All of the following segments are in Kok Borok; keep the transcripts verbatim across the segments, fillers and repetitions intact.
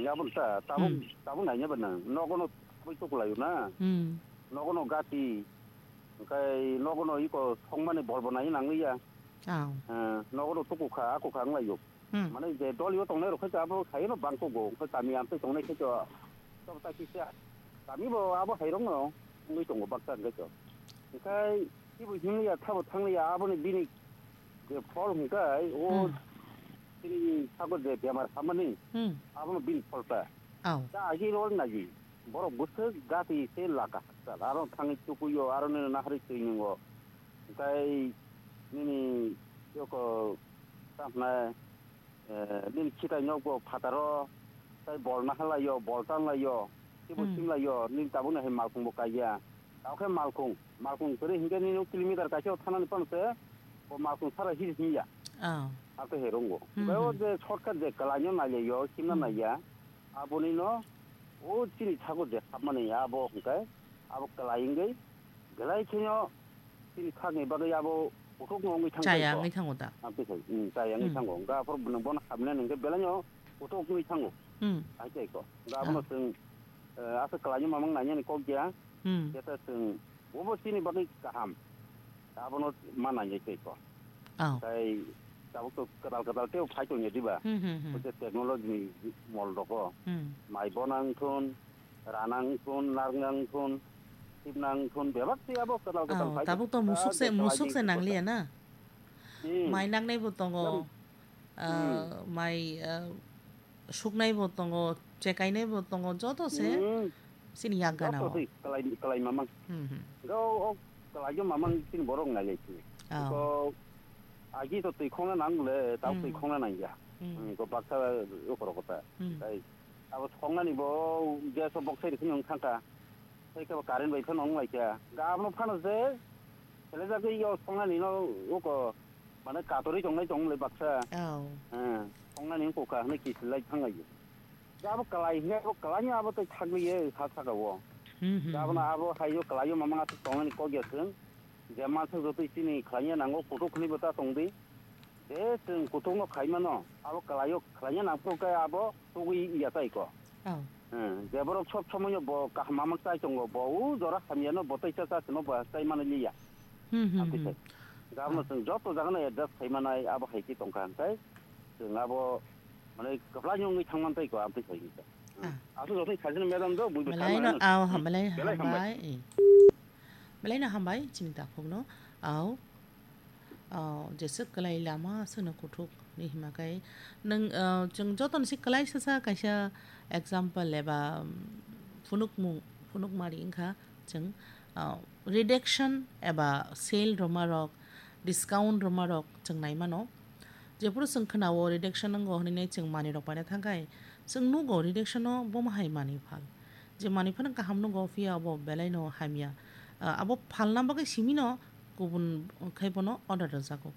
Aboni ta, tabuk, Hmm. tabuk naina ba nang. Nogo no tabuk tukulai na. Hmm. Nogo no gati. Kai nogo no iko songmani bol bo nai nang ya. Aw. Eh, nogo no tukukha, akukha ang lai yo. Hmm. Mane je dol yo tongnai rok khai abo khai no bangko go. Khai kami am tei tongnai khai to. To ta kisa. Kami bo abo hai rok no. Ngui tongo baksa khai to. Kai Ibo himliya, thabo thangliya, aboni bini je phol hwnkhe, o Hmm. chini sago je bemar hamani, Hmm. abono bini pholta. Aw. Ta agi rol nagi, borok bwswk gati se laka hakchal, aro thangwi tukuyo, aro nini nahari twi nungo. Tei nini yoko, ta hwnai, eh, nini khitai nokbo phataro, tei bol naharlaio, bol tanlaio, teibo Hmm. simlaio, nini tabukni hai malkhungbo kaiya. Tamo khe malkhung, malkhung kwrwi hinkhe nini kilometer kaisa o thanani phano se, bo malkhung sara hil hinya. Oh. Ate he rongo. Hmm, Bai o hmm. je shortcut je kwlaino nailaio, simna Hmm. naiya, aboni no o chini thago je hapmani abo hwnkhe, abo kwlai wngwi, belai kheno chini thakni bagwi abo kuthukno wngwi thangkha Chaya ikho. Wngwi thango da. Ang twi khai, hmm, chaya wngwi Hmm. thango. Hwnkhe aphuru bono, bono hapnani hwnkhe belaino kuthuk wngwi thango. Hmm. Hai tei ikho. Hwnkhe abono Oh. chwng, eh, aswk kwlaino mamang nainani kok ya. Hmm. Jeta chwng bobo chini bagwi kaham. Abono ma nainai tei ikho. Oh. Tai tabuk to kwtal kwtal tei phai tongya diba. Hmm, hmm, hmm. Ote technology ni mol rogo. Hmm. Mai bonang thun, ranang thun, narngang thun, sibnang thun, bebak tei abo kwtal kwtal Oh, phai tabuk to tong. Musuk se, Ah, musuk se kwlai nangliya na? Hmm. Mai nangnai bo tongo. Lam-, Ah, hmm. Mai, ah, suknai bo tongo, chekainai bo tongo, joto se Hmm. chini yak gana Joto o. Se kwlai, kwlai mamang. Hmm, hmm. Go o kwlai mamang chini borok nai lai chini. Oh. Ko agi to twi khongna nang le, tau twi Hmm. khongna nang ya. Hmm. Hmm, ko baksa o korok kota. Hmm. Tai abo songnani bo gas o boksai rikhin wng thangka. Tei kebo current bai phano wng lai kha. Ga abono phano se, selejagwi yo songnani no uko, mane katorwi tongnai tong lai baksa. Oh. Eh, songnani wng kha hwnwi kisil lai thang lai. Ga abo kwlai hwnkhe abo kwlaino abo tei thagwi ye ha saka o. Hmm, hmm, Ga abono hmm. Abo hai yo kwlaio mamang aswk tongnani kok ya chwng. Je mansa jotoi chini khlaina nango kuthuk hwnwi bo ta tong di. Je chwng kuthukno khai mano, abo kwlaio khlaina nang phuru khe abo tugwi ya tai ko. Oh. Hmm, je borok sob somoino bo kaham mamang chai tongo, bo u jora hamyano bo tei cha cha sino bo chai mani liya. Hmm, hmm, Abdi hmm. Khai. Gabno Oh. Chwng joto jagano adjust khai manai abo hai khe tongkha hwnkhe chwng abo mane kwplaino wngwi thangman tai ko abdi khai hwnkhe. Ah. Aswk jotono khaisano madam do, buibo Belai no, thangmano. Aw, ha, belai Belai hambai. Hambai. Eh. Belai no hambai, chini takhukno. Aw. Aw, jeswk kwlai lama, aswkno kuthuk ni hima kai. Nwng, ah, chwng jotono si kwlai sasa kaisa example eba, um, phunukmung, phunukmari wngkha chwng, ah, reduction eba sale rwma rok, discount rwma rok chwng nai mano. Jephuru chwng khna-o reduction wngo hwnwi nai chwng manwi rok paina thang khai, chwng nugo reduction-o bomo hai manwi phal. Je manwi phano kaham nugo, phiya obo belai no hamya. Ah, abo phalna bagwi simi no kubun khai bono order rwjago.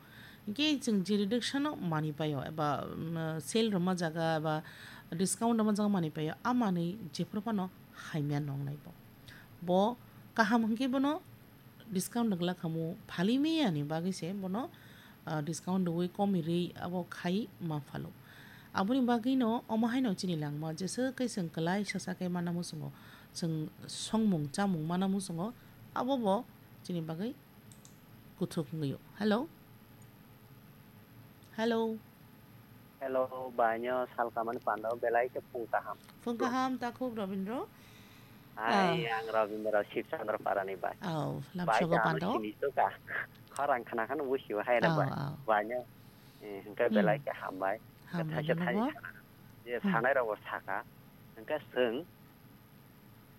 Hinkhe chwng je reduction-o manwi paio eba, um, sale rwma jaga eba discount rwma jaga manwi paio, a manwi jephuru phano hamya nongnai bo. Bo kaham hinkhe bono discount rwgla khamu phali miyani bagwi se bono, ah, discount rwui komi rwi abo khai ma phalo. Aboni bagwino omo haino chini langma jeswk khe chwng kwlai sasa khe mana muchungo, chwng songmung chamung mana muchungo, abo bo chini bagwi kuthuk wngwi o. Hello? Hello? Hello, bainyo salkamani panda o belai khe phung kaham. Phung kaham, takhuk Robindro. Hai, Ah. Ang Robindro Sibchandra Parani bai. Aw, bai lamsogo kaham panda o. Sini to ka. Khorang khna khano busi o hai da Aw, bai. Aw. Bainyo, eh, hwnkhe Hmm. Belai khe hambai. Hambai Thaisa nono thai bo. Sana. Je Hmm. Sanai rok bo saka. Hwnkhe chwng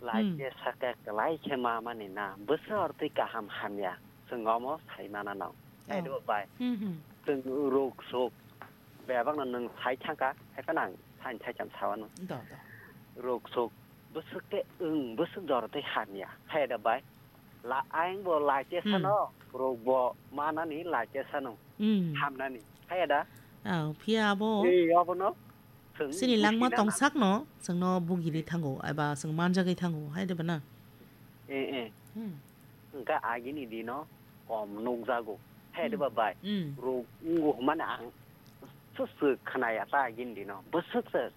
Lai Hmm. Khe saka kwlai khe ma mani na, bwswk aro twi kaham hamya, chwng omo sai mana no. Hai Oh. Do bai. Hmm, hmm. Chwng ruk suk, bebak no nwng sai thangka, hai phano ang sain thai cham sawano. Do, do. Ruk suk, bwswk khe wng, bwswk jora tei hamya, hai da bai. La, ayang bo lai khe Hmm. Sano, ruk bo manani lai khe sano. Hmm. Hamnani, hai da. Oh, phiya abo. Ei, abono. Chwng Chini langma buchina tongsak no, chwngno bugiri thango, eba chwng manjagwi thango, hai de bana? Eh, eh. Hmm. Hwnkhe agini dino kom nukjago. Hai de Hmm. Ba bai. Hmm. Ruk wngwi hwnmani ang swk swk khwnaya ta agini dino. Bwswk se